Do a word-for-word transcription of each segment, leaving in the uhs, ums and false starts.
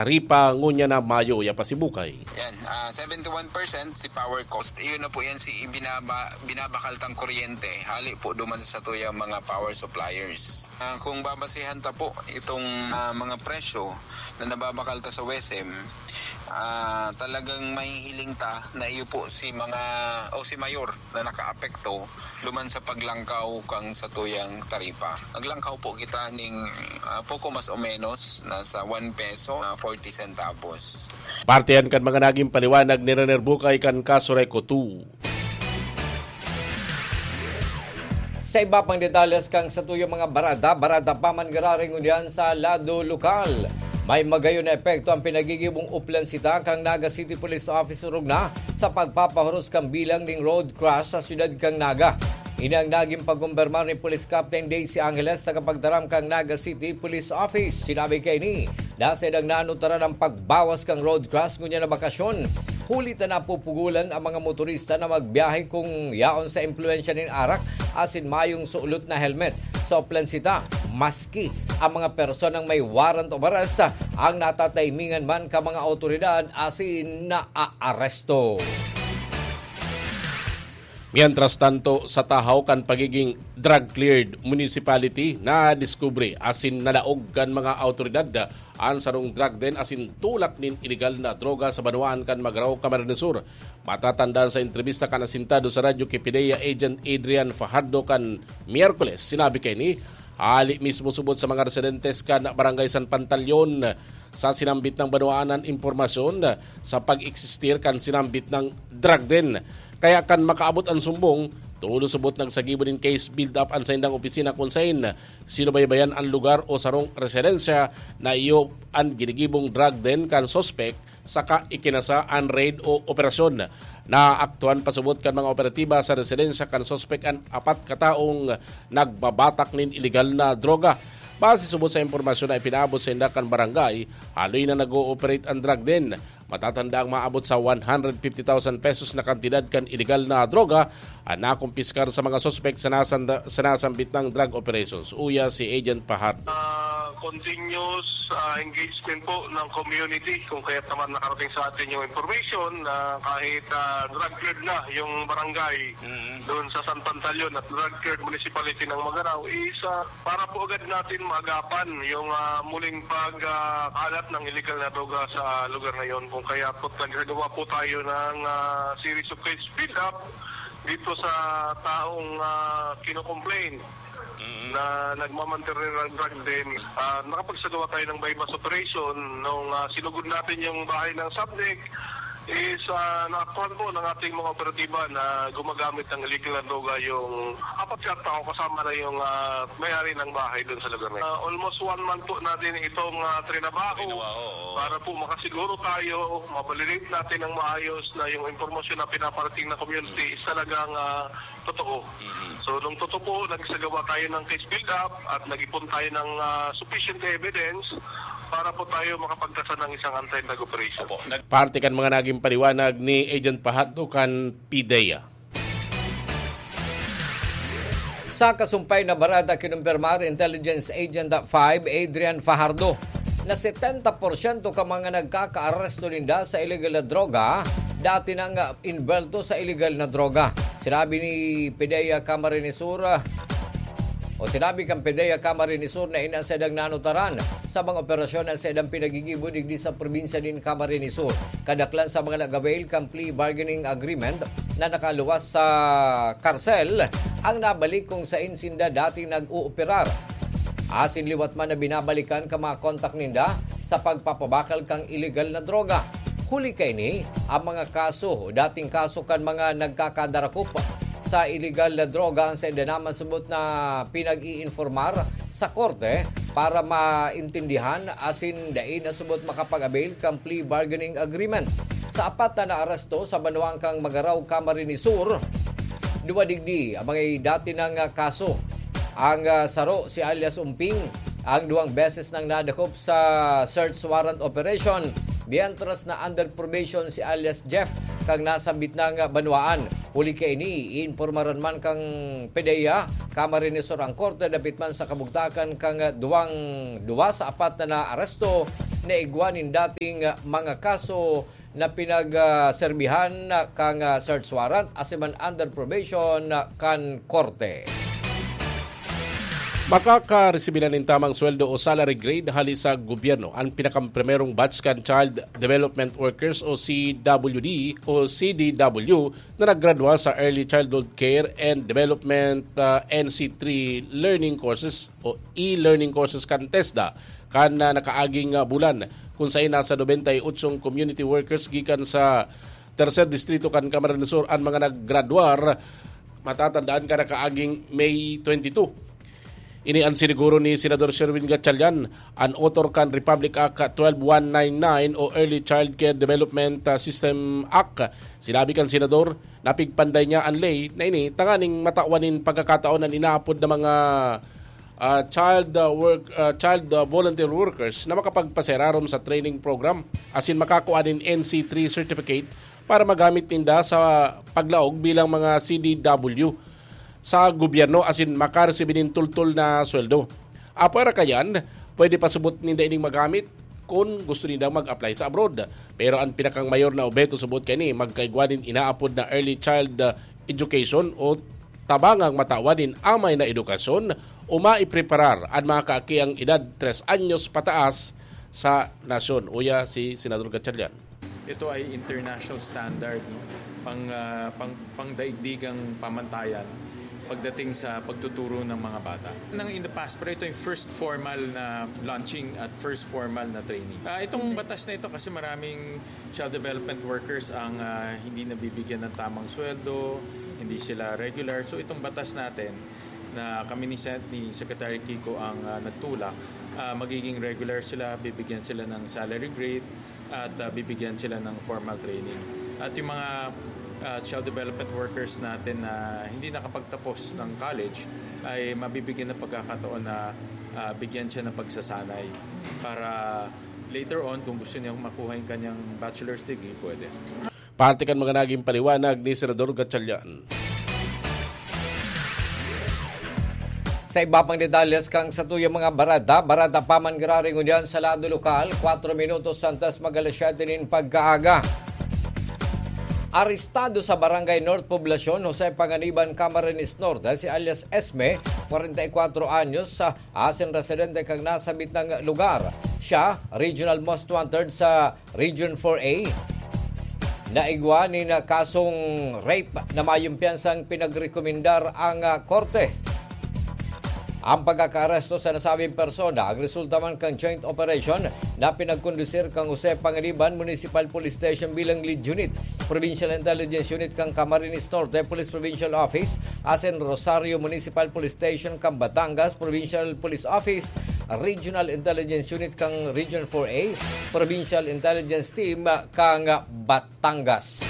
Ripa, ngunyan na mayo ya pasibukay. Yan, ah, seventy-one percent si power cost. Iyon na po yan si ibinaba-, binabakal tang kuryente. Hali po duman sa satuyang mga power suppliers. Ah, kung babasihan ta po itong, ah, mga presyo na nababakal ta sa WESM, ah, talagang mahihiling ta na iyo po si mga, o si Mayor na nakaapekto duman sa paglangkaw kang satuyang taripa. Naglangkaw po kita ning, ah, poko mas o menos, nasa one peso, ah, forty centavos. Parte yan kan mga naging paliwanag ni Rener Bukay kan Kasureko two. Sa iba pang detalles kan satuyang mga barada, barada pa man giraray ngunyan sa lado lokal. May magayon na epekto ang pinagigibong uplansita kan Naga City Police Office orog na sa pagpapahuros kan bilang nin road crash sa siyudad kan Naga. Ini ang nagin pagkumpirmar ni Police Captain Daisy Angeles, tagapagtaram kan Naga City Police Office. Sinabi kaini, na saindang nanutaran ang pagbawas kan road crash ngunyan na bakasyon. Huli ta napupugolan ang mga motorista na magbiyahe kung yaon sa impluwensya nin arak asin mayong sulot na helmet. Sa uplansita, maski ang mga personang may warrant of arrest ang natataimingan man kan mga awtoridad asin naaaresto. Mientras tanto, sa tahaw kan pagiging drug-cleared municipality, nadiskubre asin nalaog kan mga awtoridad an sarong drug den asin tulak nin ilegal na droga sa banwaan kan Magarao, Camarines Sur. Matatandaan, sa entrebista kan asintado sa radyo ki PDEA Agent Adrian Fajardo kan Miyerkules, sinabi kaini, hali mismo subot sa mga residentes kan Barangay San Pantaleon sa sinambit na banwaan an impormasyon sa pag-eksistir kan sinambit na drug den. Kaya kan makaabot an sumbong, tolos subot nagsagibo nin case build-up an saindang opisina kun saen sinubaybayan an lugar o sarong residensya na iyo an ginigibong drug den kan suspek, saka ikinasa an raid o operasyon. Naaktuhan pasubot kan mga operatiba sa residensya kan suspek an apat ka taong nagbabatak nin ilegal na droga. Base subot sa impormasyon na ipinaabot sainda kan barangay, haloy na nag-ooperate an drug den. Matatanda ang maabot sa one hundred fifty thousand pesos na kantidad kan ilegal na droga an nakumpiskar sa mga suspek sa nasanda-, sa nasambit na drug operations. Uya si Agent Fajardo. Ah, continuous, ah, engagement po ng community, kung kaya't naman nakarating sa atin yung information na kahit, ah, drug cleared na yung barangay Mm. doon sa San Pantaleon at drug cleared municipality ng Magarao is, ah, para po agad natin maagapan yung, ah, muling pag, ah, kalat ng illegal na droga sa lugar na yon. Kung kaya po, nagsagawa po tayo ng, ah, series of case build-up dito sa taong, ah, kinocomplain Mm. na nagmamantiril ng drug den. Ah, nakapagsagawa tayo ng buy-bust operation nung, ah, sinugod natin yung bahay ng subject. Is, ah, naaktuhan po ng ating mga operatiba na gumagamit ng illegal na droga yung apat yata ako, kasama na yung, ah, may-ari ng bahay doon sa lugar na yun. Ah, almost one month po natin itong, ah, trinabaho Trinabaho, oo. para po makasiguro tayo, ma-validate natin ng maayos na yung impormasyon na pinaparating ng community is talagang, ah, totoo. Mhm. So, nung totoo po, nagsagawa tayo ng case build-up at nag-ipon tayo ng, ah, sufficient evidence para po tayo makapagtasa ng isang anti-drug operation. Opo. Nag- Parte kan mga naging paliwanag ni Agent Fajardo kan PDEA. Sa kasumpay na barada, kinumpirmar Intelligence Agent five Adrian Fajardo na setenta porsyento ka mga nagkakaaresto ninda sa illegal na droga dati nang, ah, involto sa illegal na droga. Sinabi ni PDEA Camarines Sur, ah, o sinabi kan PDEA Camarines Sur na ini an saindang nanutaran sa mga operasyon na saindang pinagigibo digdi sa probinsya nin Camarines Sur. Kadaklan sa mga nag-avail kan plea bargaining agreement na nakaluwas sa karsel ang nabalik kung sain sinda dating nag-ooperar. Asin liwat man na binabalikan kan mga kontak ninda sa pagpapabakal kan illegal na droga. Huli kaini, ang mga kaso o dating kaso kan mga nagkakadarakop sa illegal na droga an sainda naman subot na pinag-iinformar sa korte para maintindihan asin dai na subot makapag-avail kan plea bargaining agreement. Sa apat na naaresto sa banwaan kan Magarao, Camarines Sur, duwa digdi ang mga dati nang, ah, kaso. Ang, ah, saro si alias Umping, ang duwang beses nang nadakop sa search warrant operation, mientras na under probation si alias Jeff, kan nasambit nang, ah, banwaan. Huli kaini, iinpormaran man kan PDEA Camarines Sur ang korte dapit man sa kabugtakan kan duwang, duwa sa apat na naaresto na igwa nin dating, ah, mga kaso na pinagserbihan, ah, kan, ah, search warrant asin man under probation, ah, kan korte. Makakaresibi na nin tamang sweldo o salary grade hali sa gobyerno an pinakaprimerong batch kan Child Development Workers o C W D o C D W na naggraduar sa Early Childhood Care and Development, ah, N C three learning courses o e-learning courses kan TESDA kan, ah, nakaaging, ah, bulan, kun saen nasa nobenta y ocho community workers gikan sa Tercer Distrito kan Camarines Sur an mga naggraduar, matatandaan ka, nakaaging May twenty-two. Ini an siniguro ni Senador Sherwin Gatchalian, an author kan Republic Act twelve one nine nine o Early Child Care Development, ah, System Act. Sinabi kan senador, napigpanday niya an ley na ini tanganing matawan nin pagkakataon an inaapod na mga, ah, child, ah, work, ah, child, ah, volunteer workers na makapagpaserarom sa training program asin makakua nin N C three certificate para magamit ninda sa paglaog bilang mga C D W sa gobyerno asin makaresibi nin tultol na sweldo. Apwera kayan, pwede pa subot ninda ining magamit kun gusto nindang mag-apply sa abroad. Pero an pinakang mayor na obheto subot kaini, magkaigwa nin inaapod na early child, uh, education o tabangang matawan nin amay na edukasyon o maipreparar an mga kaakiang edad tres anyos pataas sa nasyon. Uya si Senador Gatchalian. Ito ay international standard, no? Pang, ah, pang, pangdaigdigang pamantayan pagdating sa pagtuturo ng mga bata. Nang in the past, pero ito yung first formal na launching at first formal na training. Ah, itong batas na ito kasi maraming child development workers ang, ah, hindi nabibigyan ng tamang sweldo, hindi sila regular. So itong batas natin na kami ni Sen-, ni Secretary Kiko ang, ah, nagtulak, ah, magiging regular sila, bibigyan sila ng salary grade at, ah, bibigyan sila ng formal training. At yung mga, ah, child development workers natin na hindi nakapagtapos ng college ay mabibigyan ng pagkakataon na, ah, bigyan siya ng pagsasanay para later on, kung gusto niya makuha yung kanyang bachelor's degree, pwede. Parte kan mga naging paliwanag ni Senador Gatchalian. Sa iba pang detalles kan satuyang mga bareta, bareta pa man giraray ngunyan sa lado lokal, kwatro minutos antes mag alas siyete nin pagkaaga. Arestado sa Barangay North Poblacion, Jose Panganiban, Camarines Norte, si alias Esme, kwarenta y kwatro anyos, sa asin residente kan nasambit na lugar. Siya, Regional Most Wanted sa Region four A. Naigwa nin kasong rape na mayong piyansang pinagrekomendar ang, ah, korte. Ang pagkakaaresto sa nasabing persona ang resulta man kan joint operation na pinagkondusir kan Jose Panganiban Municipal Police Station bilang Lead Unit, Provincial Intelligence Unit kan Camarines Norte Police Provincial Office, asin Rosario Municipal Police Station kan Batangas Provincial Police Office, Regional Intelligence Unit kan Region four A, Provincial Intelligence Team kan Batangas.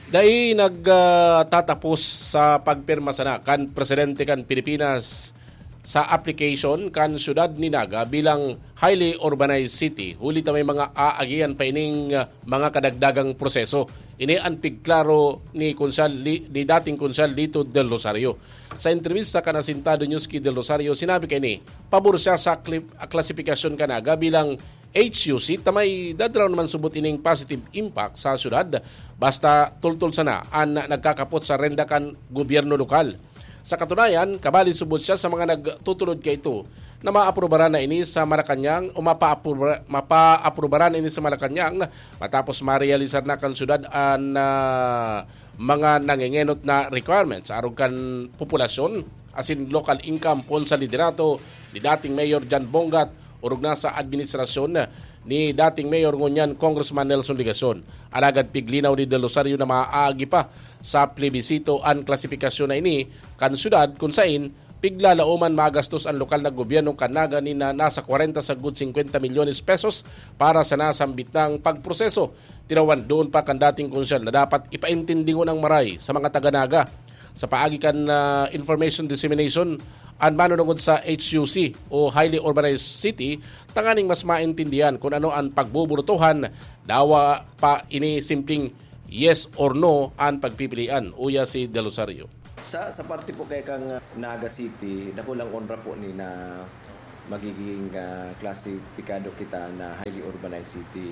Dai nagtatapos sa pagpirma sana kan presidente kan Pilipinas sa application kan siyudad ni Naga bilang highly urbanized city, huli ta may mga aagihan pa ining, ah, mga kadagdagang proseso. Ini an pigklaro ni Konsehal Li-, ni dating Konsehal Lito Del Rosario. Sa entrebista kan Asintado News ki Del Rosario, sinabi kaini, pabor siya sa kli-, klasifikasyon kan Naga bilang H U C, ta may dadaraw naman subot ining positive impact sa syudad, basta tultol sana an nagkakapot sa renda kan gobyerno lokal. Sa katunayan, kabali subot siya sa mga nagtutulod kaito na maaprubaran na ini sa Malacañang o mapaapruba-, mapaaprubaran ini sa Malacañang matapos marealisar na kan syudad an, ah, mga nangengenot na requirements arog kan populasyon asin local income poon sa liderato ni dating Mayor John Bongat orog na sa administrasyon ni dating Mayor ngunyan Congressman Nelson Legacion. Alagad piglinaw ni Del Rosario na maaagi pa sa plebisito an klasifikasyon na ini kan syudad, kun sain piglalaoman magastos an lokal na gobyerno kan Naga nin na nasa kwarenta sagkod singkwenta milyones pesos para sa nasambit nang pagproseso. Tinawan doon pa kan dating konsehal na dapat ipaintindingon ang maray sa mga taga Naga. Sa paagi kan, ah, information dissemination, an manunungod sa H U C o highly urbanized city, tanganing mas maintindihan kun ano an pagbuburutohan, dawa pa ini simpleng yes or no an pagpipilian, uya si Del Rosario. Sa, sa parte po kay kang Naga City, dakulang onra po ni na magiging ah, klasipikado kita na highly urbanized city.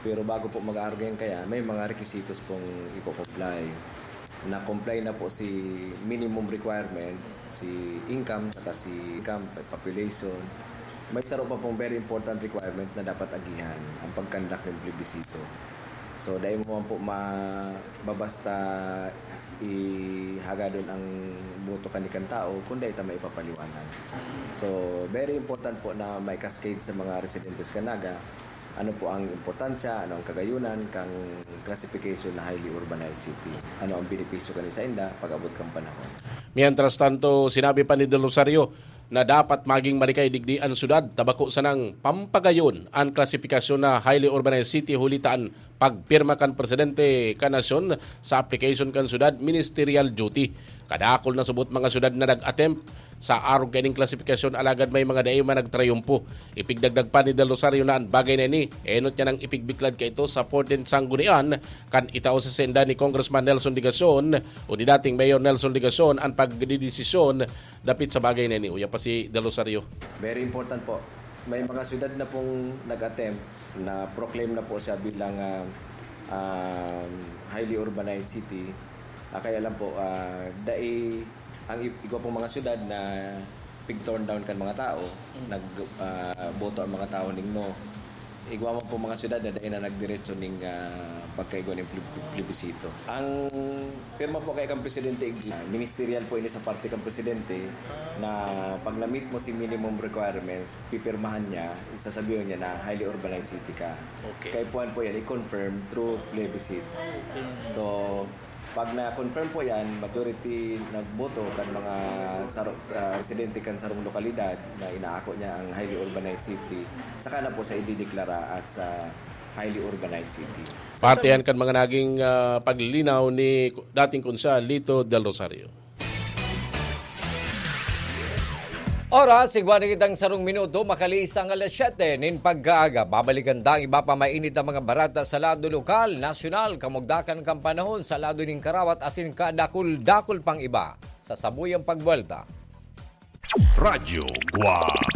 Pero bago po mag-aarog yan kaya, may mga requisitos pong i-comply. Na-comply na po si minimum requirement, si income, saka si income, population. May saro pa pong very important requirement na dapat agihan, ang pag-conduct ng plebisito. So, dai mo man po mababasta ihagadon ang boto kan tao kung dai ta maipapaliwanag. So, very important po na mai-cascade sa mga residentes kan Naga ano po ang importansya, ano ang kagayunan kang classification na highly urbanized city. Ano ang benepisyo kani sainda pag-abot kan panahon. Mientras tanto, sinabi pa ni Del Rosario na dapat maging marikay digdi an syudad ta bako sanang pampagayon an klasifikasyon na highly urbanized city huli ta an pagpirma kan presidente kan nasyon sa application kan syudad, ministerial duty. Kadakul na subot mga syudad na nag-attempt sa arog kaining klasifikasyon, alagad may mga dai man nagtrayumpo. Ipigdagdag pa ni Del Rosario na an bagay na ini enot niya nang ipigbiklad kaito sa fourteenth Sanggunian kan itao sa senda ni Congressman Nelson Legacion o ni dating Mayor Nelson Legacion an pagdidesisyon dapit sa bagay na ini. Uya pa si Del Rosario. Very important po. May mga syudad na pong nag-attempt na proclaim na po siya bilang ah, um, highly urbanized city. Ah, kaya lang po, ah, dai ang i- igwa pong mga syudad na pig-torn down kan mga tao, nag ah, boto ang mga tao ning no. Igwa man po mga syudad na dai na nagdiretso ning ah, pagkaigwa ning pleb- plebisito. Ang pirma po kay kan presidente, igdi- ah, ministerial po ini sa parte kan presidente na pag na-meet mo si minimum requirements, pipirmahan niya, sasabihin niya na highly urbanized city ka. Okay. Kaya puwan po yan, i-confirm through plebiscite. So, pag na-confirm po yan, majority nagboto kan mga saro, ah, residente kan sarong lokalidad na inaako niya ang highly urbanized city, saka na po sa idideklara as ah, highly urbanized city. Parte yan kan mga naging ah, paglilinaw ni dating Konsehal Lito Del Rosario. Oras, igwa na kitang sarong minuto, makaliis ang alas siyete nin pagkaaga. Babalikan ta ang iba pa mainit na mga barata sa lado lokal, nasyonal, kamugdakan kan panahon sa lado nin karawat asin kadakul-dakul pang iba sa sabuyang pagbuwelta. Radyo Guwang.